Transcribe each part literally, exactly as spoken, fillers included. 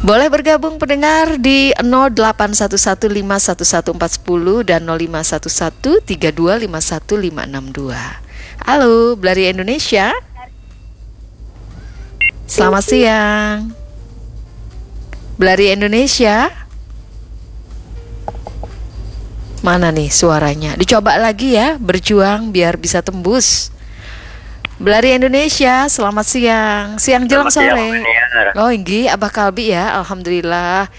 Boleh bergabung pendengar di nol delapan satu satu lima satu satu empat sepuluh dan nol lima satu satu tiga dua lima satu lima enam dua. Halo, Belari Indonesia. Selamat siang. Belari Indonesia. Mana nih suaranya? Dicoba lagi ya, berjuang biar bisa tembus. Belari Indonesia, selamat siang. Siang jelang Selamat siang, sore. Mbak Niar. Oh, inggih, Abah Kalbi ya, alhamdulillah.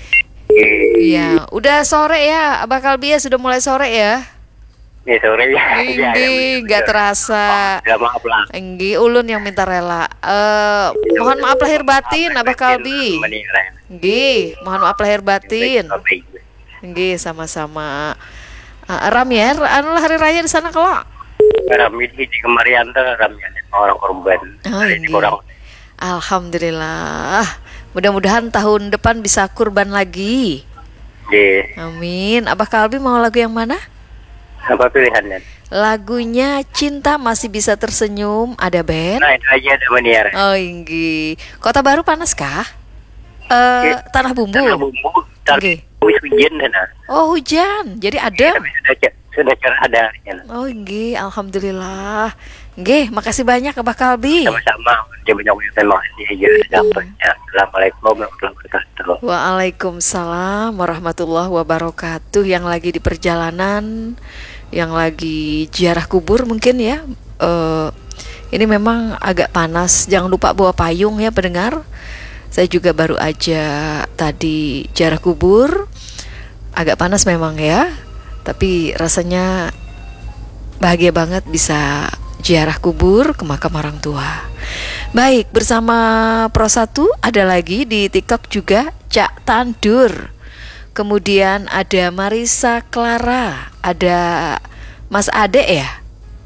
Iya. Iya, udah sore ya, Abah Kalbi ya, sudah mulai sore ya. Ini sore ya. Iya, Inggih, iya, nggak betul. terasa. Ya, maaf lah. Inggih, ulun yang minta rela. Eh, mohon maaf lahir batin, Abah Kalbi. Mbak Niar. Inggih, mohon maaf lahir batin. Baik, baik. Inggih, sama-sama. Ah, rami ya, anu lah hari raya di sana kalo? Rami di, di kemarian tuh rami ada orang korban. Oh, Ada inggih. Kurang. Alhamdulillah. Mudah-mudahan tahun depan bisa kurban lagi. Di Amin. Abah Kalbi mau lagu yang mana? Apa pilihannya? Lagunya Cinta Masih Bisa Tersenyum, ada band. Nah, itu aja ada Mbak Niar. Oh, inggih. Kota Baru panas kah? Eh, Iya. Tanah Bumbu. Tanah Bumbu. Tapi Oke. wis hujan sana. Oh, hujan. Jadi adem. Tapi sudah cer- sudah cerah ada. Ya. Oh, inggih, alhamdulillah. Inggih, makasih banyak Abah Kalbi. Sama-sama. Dia banyak yang terima kasih aja. Dapatnya. Assalamualaikum warahmatullahi wabarakatuh. Waalaikumsalam warahmatullahi wabarakatuh. Yang lagi di perjalanan, yang lagi ziarah kubur mungkin ya. Eh, ini memang agak panas. Jangan lupa bawa payung ya, pendengar. Saya juga baru aja tadi ziarah kubur. Agak panas memang ya. Tapi rasanya bahagia banget bisa ziarah kubur ke makam orang tua. Baik, bersama Pro satu ada lagi di TikTok juga, Cak Tandur. Kemudian ada Marisa Clara, ada Mas Ade ya?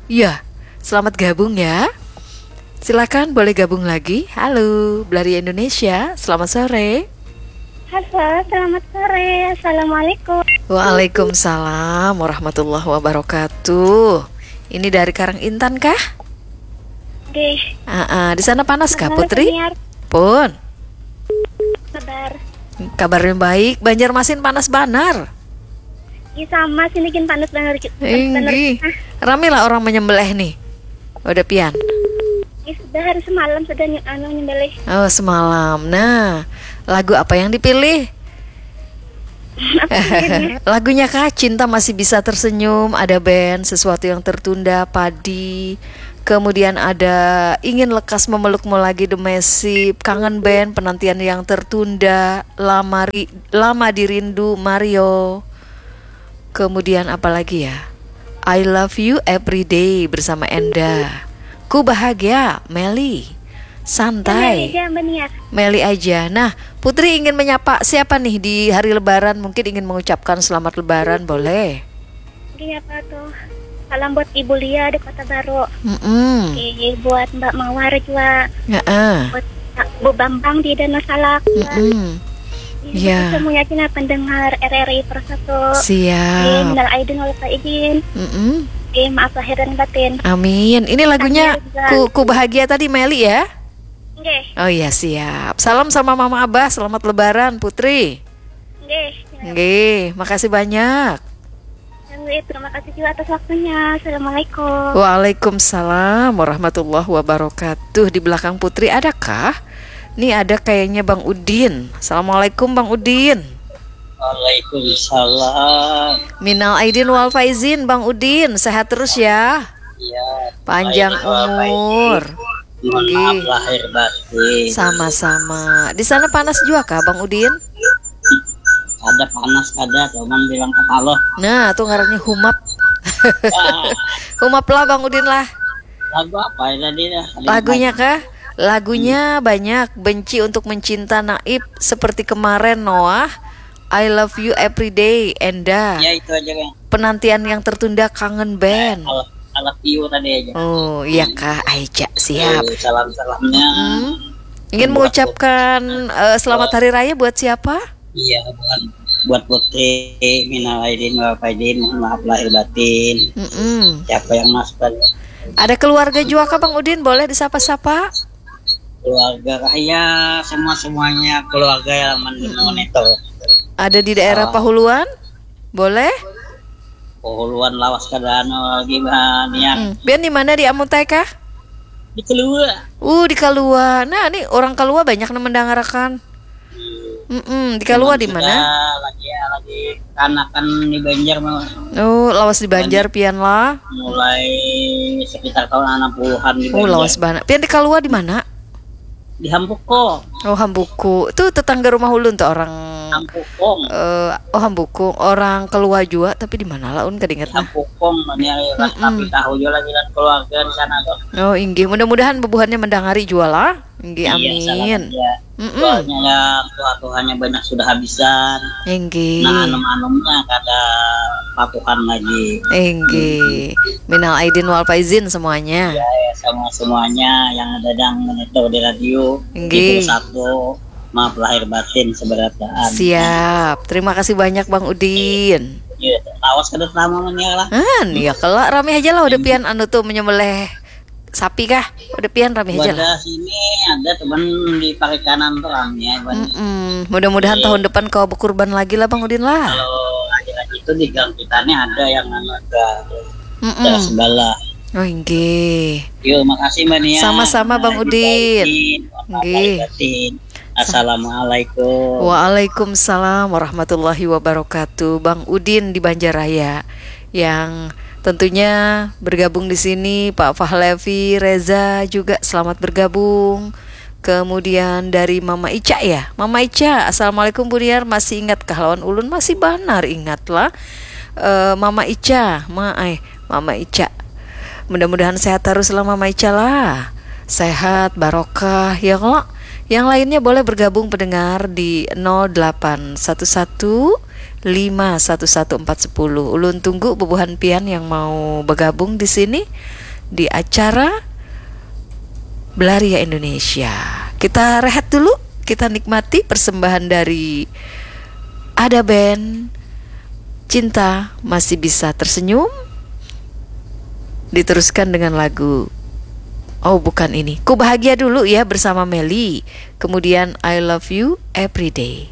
Iya, selamat gabung ya. Silakan boleh gabung lagi. Halo, Belari Indonesia, selamat sore. Halo, selamat sore. Assalamualaikum. Waalaikumsalam warahmatullahi wabarakatuh. Ini dari Karang Intan kah? Oke, Ah, ah. Di sana panas kah, Halo, Putri? Senior. Pun. Kabar. Kabarnya baik. Banjarmasin panas banar. Ih, sama sini gin panas banget. Panas banget. Inggih. Rame lah orang menyembelih nih. Udah pian. Ih, sudah hari semalam sudah ny- anu nyembelih. Oh, semalam. Nah, lagu apa yang dipilih? Apa judulnya? Lagunya kah, Cinta Masih Bisa Tersenyum, ada band Sesuatu Yang Tertunda, Padi. Kemudian ada Ingin Lekas Memelukmu Lagi, The Massive, Kangen Band, Penantian Yang Tertunda, Lama, Ri- Lama Dirindu, Mario. Kemudian apa lagi ya? I Love You Every Day bersama Enda. Ku Bahagia, Meli. Santai. Iya, Mbak Nia. Meli aja. Nah, Putri ingin menyapa siapa nih di hari Lebaran? Mungkin ingin mengucapkan selamat Lebaran, boleh? Oke, apa tuh? Salam buat Ibu Lia di Kota Baru. Mm-mm. Oke, buat Mbak Mawar juga. Heeh. Buat Bu Bambang di Danau Salak. Mm-mm. Oke, Iya. Semuanya cina pendengar R R I Pro satu. Siap. Minal aidin wal faizin. Mm-mm. Oke, maaf lahir dan batin. Amin. Ini lagunya Sambil juga. ku, ku Bahagia tadi, Meli ya? Oke, Oh iya, siap. Salam sama Mama Abah, selamat Lebaran, Putri. oke. Nggih, makasih banyak. Yang terima kasih juga atas waktunya. Assalamualaikum. Waalaikumsalam warahmatullahi wabarakatuh. Di belakang Putri adakah? Nih ada kayaknya Bang Udin. Assalamualaikum Bang Udin. Waalaikumsalam. Minal aidin wal faizin Bang Udin. Sehat terus ya. Ya. Panjang Baik, Bapak umur. Ibu. Mohon maaf Nggih. Lahir batin. Sama-sama. Di sana panas juga kah Bang Udin? Ada panas ada, cuman bilang kepala. Nah, itu ngarannya humap. Ah, Humap lah Bang Udin lah. Lagu apa ya tadi ya? Lagunya kah? Lagunya banyak. Benci Untuk Mencinta, Naib, Seperti Kemarin, Noah, I Love You Every Day, Enda, Ya itu aja kan. Penantian Yang Tertunda, Kangen Band. Alat alat view tadi aja. Oh iya kah, Aica, siap. Salam salamnya. Hmm. Ingin mengucapkan eh, selamat hari raya buat siapa? Iya bukan buat Putri, minal aidin wal faizin, mohon maaf lahir batin. Mm-mm. Siapa yang masuk tadi? Ada keluarga juga kah Bang Udin? Boleh disapa-sapa? Keluarga kah? Ya, semua-semuanya keluarga yang men- monitor. Ada di daerah Ah. Pahuluan? Boleh? Pahuluan lawas kada anu lagi, bah, nian. Hmm. Pian di mana, di Amutai kah? Di Kalua. Uh, di Kalua. Nah, ini orang Kalua banyak nang mendangarakan. Mm-mm, di Kalua di mana? Lagi, ya, lagi kanakan di Banjar, mau Oh, lawas di Banjar pian lah. Mulai sekitar tahun enam puluhan di Oh, Banjar. Lawas banget. Pian di Kalua di mana? Di Hampuko. Oh, Hambuku. Itu tetangga rumah ulun tuh orang Hampukong. Eh, oh, Hambukung, orang Kalua jua, tapi di mana lah, un kada ingat nah. Hampukong, mana lah, Mm-mm. tapi tahu juga lagi dan keluarga di sana tuh. Oh, inggih. Mudah-mudahan bubuhannya mendangari jua lah. Inggih, Iya, salam amin. aja. Mm-mm. Soalnya ya, tuha-tuhanya banyak sudah habisan. Inggih. Nah, anum-anumnya kada patuhan lagi. Inggih. Minal aidin wal faizin semuanya. Ya, ya, sama semuanya yang ada dan monitor di radio. Inggih. Satu, maaf lahir batin seberataan. Siap. Terima kasih banyak, Bang Udin. Ya, awas kada sama mania lah. Kan, ya kelak rame aja lah udah pian anu tuh menyembelih sapi kah? Udah pian rame aja lah. Wadah sini ada teman di Parikanan tuh rame, Bang. Mm-mm. Mudah-mudahan tahun depan kau berkurban lagi lah, Bang Udin lah. Kalau lagi-lagi itu di gang kita nih ada yang anu ada Mm-mm. ada segala. Oh, inggih. Yuk, makasih Mbak Nia. Sama-sama, Bang Mbak Udin. Udin. Nggih. Batin. Assalamualaikum. Waalaikumsalam warahmatullahi wabarakatuh. Bang Udin di Banjaraya yang tentunya bergabung di sini, Pak Fahlevi, Reza juga selamat bergabung. Kemudian dari Mama Ica ya. Mama Ica, assalamualaikum Buniar, masih ingat kah lawan ulun? Masih banar ingat lah. Eh, Mama Ica, ma eh Mama Ica. Mudah-mudahan sehat terus lah Mama Ica lah. Sehat, barokah, ya kalo. Yang lainnya boleh bergabung pendengar di nol delapan satu satu lima satu satu empat sepuluh. Ulun tunggu bubuhan pian yang mau bergabung di sini di acara Belaria Indonesia. Kita rehat dulu, kita nikmati persembahan dari Ada Band, Cinta Masih Bisa Tersenyum. Diteruskan dengan lagu, oh bukan ini, Ku Bahagia Dulu ya bersama Meli. Kemudian I Love You Everyday.